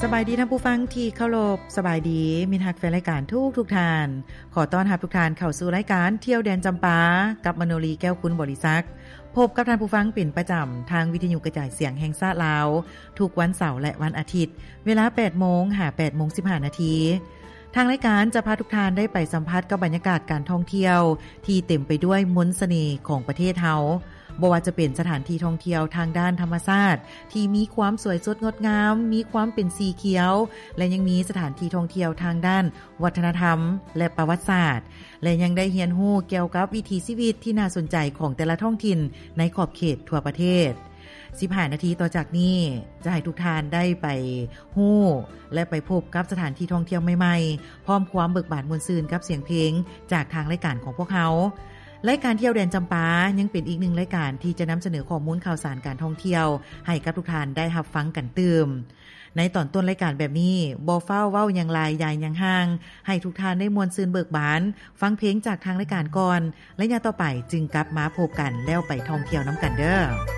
ສະບາຍດີທ່ານຜູ້ຟັງທີ່ເຄົາລົບ, ສະບາຍດີມິດຮັກແຟນລາຍການທຸກໆທ່ານ. ຂໍຕ້ອນຮັບທຸກທ່ານເຂົ້າສູ່ລາຍການທ່ຽວແດນຈຳປາ ກັບມະໂນລີ ແກ້ວຄຸນບໍລິສັກ. ພົບກັບທ່ານຜູ້ຟັງເປັນປະຈຳທາງວິທະຍຸກະຈາຍສຽງແຫ່ງຊາດລາວ ທຸກວັນເສົາ ແລະ ວັນອາທິດ ເວລາແປດໂມງຫາແປດໂມງສິບຫ້ານາທີ. ທາງລາຍການຈະພາທຸກທ່ານໄດ້ໄປສຳຜັດກັບບັນຍາກາດການທ່ອງທ່ຽວທີ່ເຕັມໄປດ້ວຍມົນສະເໜ່ຂອງປະເທດເຮົາ, ບໍ່ວ່າຈະເປັນສະຖານທີ່ທ່ອງທ່ຽວທາງດ້ານທຳມະຊາດທີ່ມີຄວາມສວຍສົດງົດງາມ, ມີຄວາມເປັນສີຂຽວ ແລະ ຍັງມີສະຖານທີ່ທ່ອງທ່ຽວທາງດ້ານວັດທະນະທຳ ແລະ ປະຫວັດສາດ ແລະ ຍັງໄດ້ຮຽນຮູ້ກ່ຽວກັບວິຖີຊີວິດທີ່ໜ້າສົນໃຈຂອງແຕ່ລະທ້ອງຖິ່ນໃນຂອບເຂດທົ່ວປະເທດ. ສິບຫ້ານາທີຕໍ່ຈາກນີ້ ຈະໃຫ້ທຸກທ່ານໄດ້ໄປຮູ້ ແລະ ໄປພົບກັບສະຖານທີ່ທ່ອງທ່ຽວໃໝ່ໆ ພ້ອມຄວາມເບີກບານມ່ວນຊື່ນກັບສຽງເພງຈາກທາງລາຍການຂອງພວກເຮົາ. ລາຍການທ່ຽວແດນຈຳປາຍັງເປັນອີກໜຶ່ງລາຍການທີ່ຈະນຳສະເໜີຂໍ້ມູນຂ່າວສານການທ່ອງທ່ຽວໃຫ້ກັບທຸກທ່ານໄດ້ຮັບຟັງກັນຕື່ມ. ໃນຕອນຕົ້ນລາຍການແບບນີ້ ບໍ່ຟ້າວເວົ້າຫຍັງຫຼາຍຢາຍຫຍັງຫ່າງ, ໃຫ້ທຸກທ່ານໄດ້ມ່ວນຊື່ນເບີກບານ, ຟັງເພງຈາກທາງລາຍການກ່ອນ, ໄລຍະຕໍ່ໄປຈຶ່ງກັບມາພົບກັນ ແລ້ວໄປທ່ອງທ່ຽວນຳກັນເດີ້.